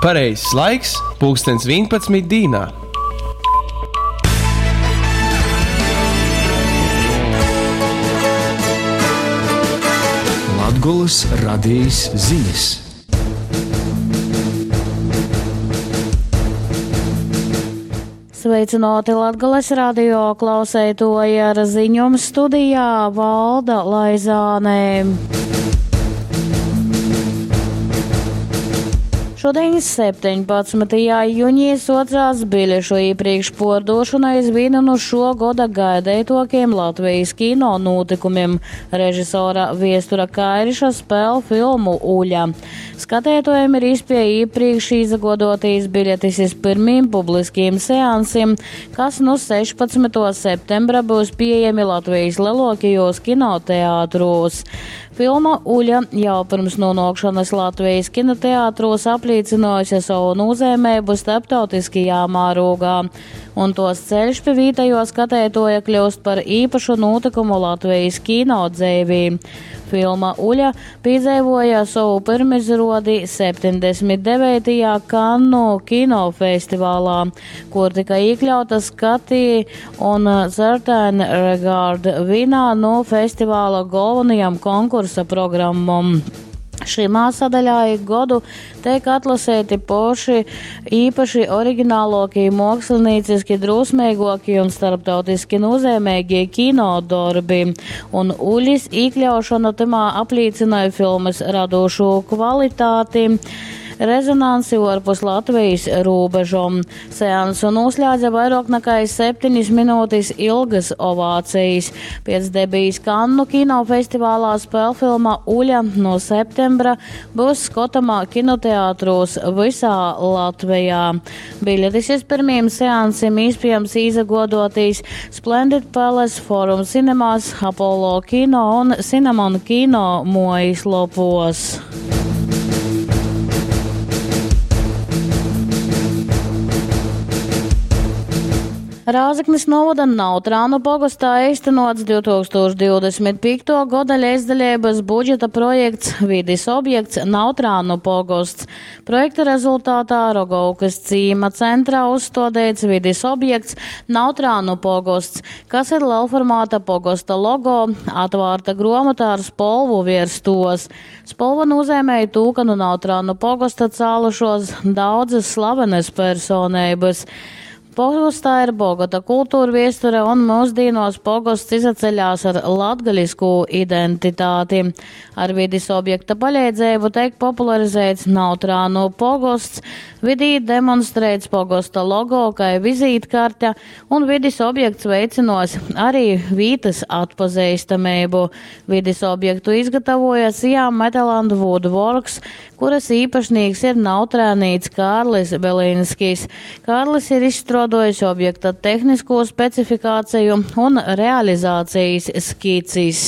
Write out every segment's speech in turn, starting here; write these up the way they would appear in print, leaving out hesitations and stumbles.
Pareizais laiks - pulkstens 11 dīnā. Latgolys radejis zinis. Sveicināti Latgales radio klauseitoji ar ziņom studijā Valda Laizāne. Šodien, 17. jūnijā, socās biļešu iepriekš pārdošana iz vienu no šo gada gaidētokiem Latvijas kino notikumiem - režisora Viestura Kairiša spēle filmu Uļa. Skatētojiem ir iespēja iepriekš izagodotīs biļetes iz pirmiem publiskiem seansiem, kas no 16. septembra būs pieejami Latvijas lielākajos kinoteātros. Filma Uļa jau pirms nonākšanas Latvijas kinoteātros apliecinājusi savu nozīmību starptautiskajā mārogā, un tos ceļš pie vietējo skatētoja kļūst par īpašu notikumu Latvijas kino dzēvī. Filma Uļa piedzīvoja savu pirmizrodi 79. Kannu kinofestivālā, kur tika iekļauta skatī un Certain Regard vienā no festivāla galvenajām konkursa programmām. Šimā sadaļā ik godu tiek atlasēti poši īpaši oriģinālākie, mākslinieciski drosmīgākie un starptautiski nozīmīgie kino darbi, un Uļis iekļaušana tamā apliecināja filmas radošo kvalitāti. Rezonansi ārpus Latvijas robežom. Seansu noslēdza vairāk nekā 7 minūtes ilgas ovācijas. Pēc debijas Kannu kinofestivālā spēlfilma Uļa no septembra būs skatama kinoteātros visā Latvijā. Biļetes iz pirmiem seansiem iespējams izagodotīs Splendid Palace, Forum Cinemas, Apollo Kino un Cinnamon Kino mojas lopos. Rāzaknis novada Nautrānu pogostā īstenots 2025. gada līdzdalības budžeta projekts Vidis objekts Nautrānu pogosts. Projekta rezultātā Rogovkas cīma centrā uzstādīts vidis objekts Nautrānu pogosts, kas ir lielformāta pogosta logo, atvārta gromata ar spolvu virs tos. Spolva nozīmēja to, ka no Nautrānu pogosta cēlušos daudzas slavenas personības. Pogostā ir bogata kultūra viesture un mūsdienos pogosts izaceļās ar latgaļisku identitāti. Ar vidis objekta palīdzību tiek popularizēts Nautrānu pogosts, vidī demonstrēts pogosta logo kā vizītkarte un vidis objekts veiциnos arī vītas atpazīstamību. Vidis objektu izgatavoja Siam Metal and Woodworks, kuras īpašnieks ir nautrānīts Kārlis Belinskis. Kārlis ir izstrādājis objekta tehnisko specifikāciju un realizācijas skicis.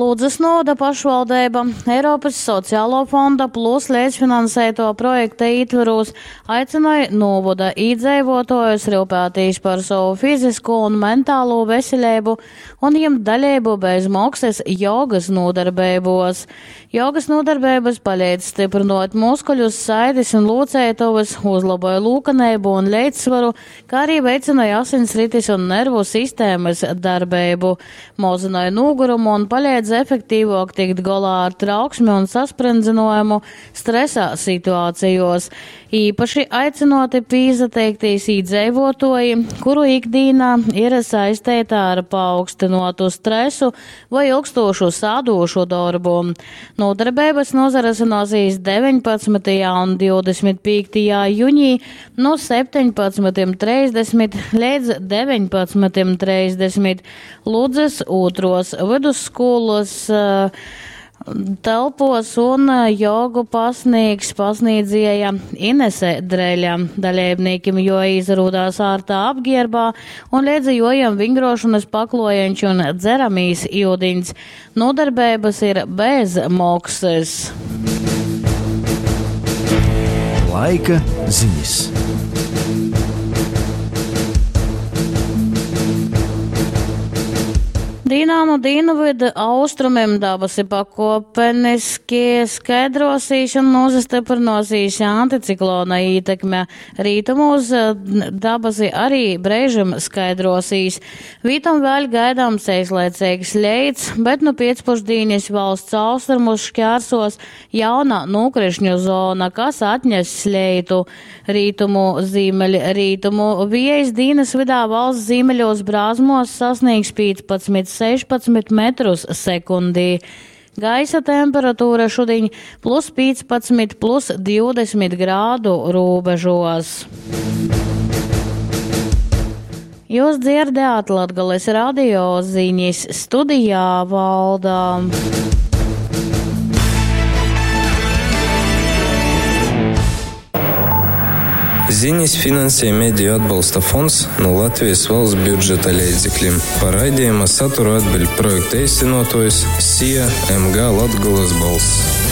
Ludzas novada pašvaldība Eiropas Sociālo fonda plus līdzfinansēto projekta ietvaros aicināja novada iedzīvotājus rūpēties par savu fizisko un mentālo veselību un ņemt dalību bez maksas jogas nodarbībos. Jogas nodarbības palīdz stiprinot muskuļus, saites un lūcētavas, uzlaboja lūkanību un līdzsvaru, kā arī veicināja asinsrites un nervu sistēmas darbību, mazināja nogurumu un palīdz efektīvāk tikt galā ar trauksmi un sasprindzinājumu stresa situācijos. Īpaši aicinoti pīzateiktīs iedzīvotoji, kuru ikdienā ir saistīta ar paaugstinotu stresu vai ilgstošu sādošu darbu. Nodarbības nozarasināsies 19. un 25. jūnijā no 17.30 līdz 19.30 Ludzas otros vidusskolas telpos un jogu pasniegs pasniedzēja Inese Dreļa. Dalībniekiem jo izrūdās ārtā apģērbā un liedza jojam vingrošanas paklojeņš un dzeramīs iudiņs. Nodarbības ir bez maksas. Laika ziņas. Dīnā nu dīnavydu austrumim dabasi pakuopeniski skaidruosīs un nūsastyprynuosīs anticiklona ītekme. Rītumūs dabasi arī breižim skaidruosīs. Vītom vēļ gaidāms eislaiceigs leits, bet nu piecpušdīnis valsts austrumus šķērsos jauna nūkrišņu zona, kas atness leitu. Rītumu zīmeļrītumu viejs dīnys vydā valsts zīmeļos brāzmuos sasnīgs 15-16 metrus sekundī. Gaisa temperatūra šudiņ plus 15, plus 20 grādu rūbežos. Jūs dzirdējāt Latgales radio ziņas studijā Valdā. Ziņas finansē Mediju atbalsta fonds no Latvijas valsts budžeta leidzekļiem. Par raidījuma saturu atbild projekta īstenotājs SIA MG Latgolas balss.